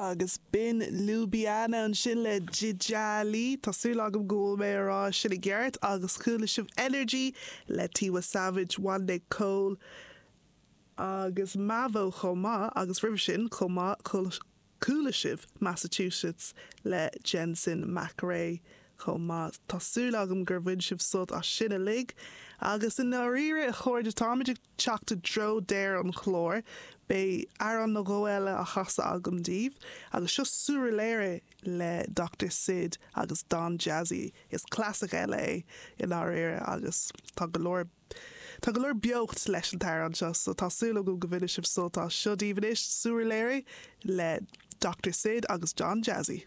Agus b'in Ljubljana ansin le Djidjali, tá súil agam go bhfuil mé a rá sin i gceart, agus chuala sibh Energy le Tiwa Savage, Wande Coal agus Mavo chomh maith, agus roimhe sin chomh maith chuala sibh Massachusetts le Jensen McRae chomh maith. Tá súil agam gur bhain sibh sult as sin uilig. Agus i ndáiríre, a chairde, táimid ag teacht i dtreo deireadh an chláir. Beidh amhrán nó dhó eile á chasadh agam daoibh. Agus seo Surulere le Doctor Sid agus Don Jazzy. Is clasaic eile é i ndáiríre agus tá go leor tá go leor beocht leis an t-amhrán seo so tá súil agam go mbainfidh sibh sult as. Seo daoibh anois Surulere le Doctor Sid agus Don Jazzy.